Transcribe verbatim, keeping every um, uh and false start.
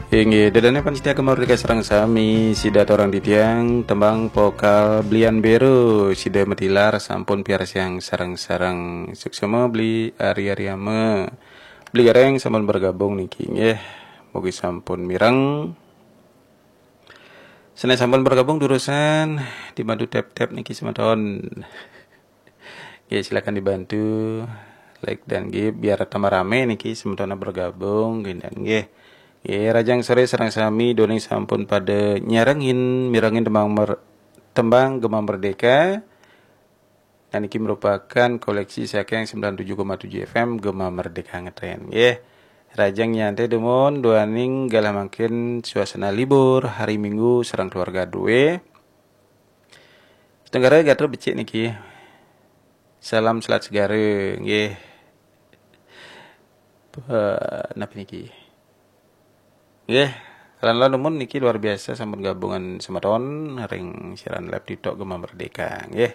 Inggih, ida dané pamiarsa Gema Merdeka sareng sami, sida aturang titiang tembang vokal Blian Bero, sida matilar sampun piarsayang sareng-sareng. Suksma Bli Ari Ariama. Bli Gareng sampun bergabung niki nggih. Mugi sampun mireng. Sané sampun bergabung durusang dibantu tap-tap niki semeton. Nggih, silakan dibantu like dan nggih biar tambah rame niki semeton bergabung nggih dan nggih. Nggih, rahajeng soré sareng sami, ida dané sampun pada nyarengin, mirengin tembang mer-, tembang Gema Merdeka. Nah, niki merupakan koleksi saking sembilan tujuh koma tujuh F M Gema Merdeka ngetren nggih. Rahajeng nyantai dumun duaning galah mangkin suasana libur hari Minggu sareng keluarga duwé. Tenggara gatra becik niki. Salam selat segara nggih. Eh, napi niki? Nggih, lan-lan dumun niki luar biasa sampun gabungan semeton ring siaran live TikTok Gema Merdeka nggih.